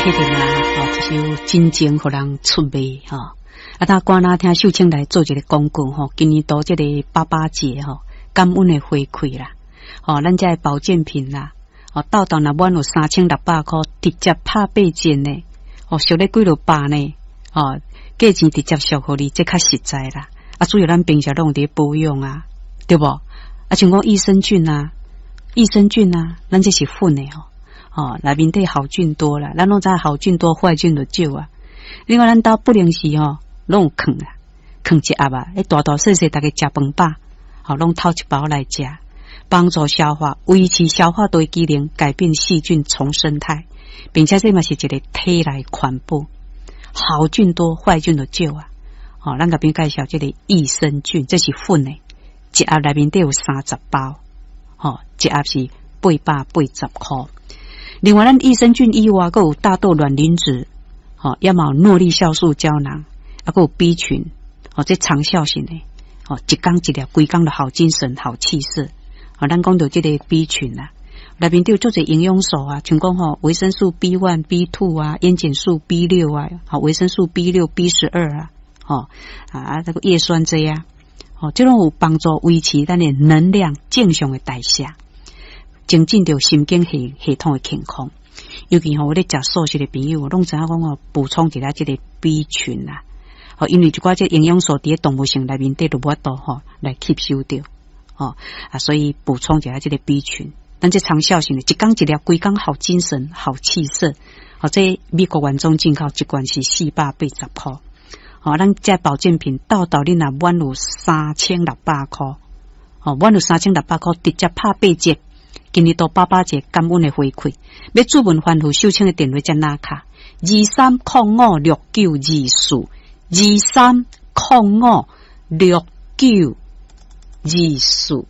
啟迪啦，吼，這首真情予人出賣吼。啊，他趕仔聽秀清來做一個廣告吼，今年度這個爸爸節吼，感恩的回饋啦，吼，咱這個保健品啦，吼，豆豆若滿有3600箍，直接拍八折呢，吼，俗咧幾落百呢，吼，價錢直接俗予你，這較實在啦。啊，主要咱平常攏有佇保養啊，對無？啊，像講益生菌啊，益生菌啊，咱這是粉的吼。哦，內面底好菌多啦，咱攏知好菌多，壞菌就少啊。另外，咱兜不定時吼，攏有囥啊，囥一盒啊，彼大大細細，逐家食飯飽，吼，攏偷一包來食，幫助消化，維持消化道機能，改變細菌叢生態，並且這嘛是一個體內環保，好菌多，壞菌就少啊。吼，咱共朋友介紹這個益生菌，這是粉的，一盒內面底有30包，吼，一盒是880箍。另外，咱益生菌以外，閣有大豆卵磷脂，吼，也嘛有諾麗酵素膠囊，啊，閣有 B 群，吼，這長效型的，吼，一工一粒，規工就好精神、好氣色。吼，咱講著這個 B 群啊，內面底有足濟營養素啊，像講吼維生素 B1、B2 啊，煙鹼素 B6啊，吼，維生素 B6、B12啊，吼，啊，這個葉酸這啊，吼，這攏有幫助維持咱的能量正常的代謝。增進著神經系統的健康，尤其吼有咧食素食的朋友，攏知影講吼補充一下這個 B 群啦。吼，因為一寡這營養素佇咧動物性內面底都無法度吼來吸收著，吼啊，所以補充一下這個 B 群。咱這長效性的，一工一粒，規工好精神、好氣色。吼，這美國原裝進口一罐是480箍。吼，咱這保健品豆豆你若滿有3600箍，吼，滿有三千六百箍，直接拍八折。今年度爸爸節感恩的回饋，欲註文番號秀清的電話才拿卡23056924，23056924。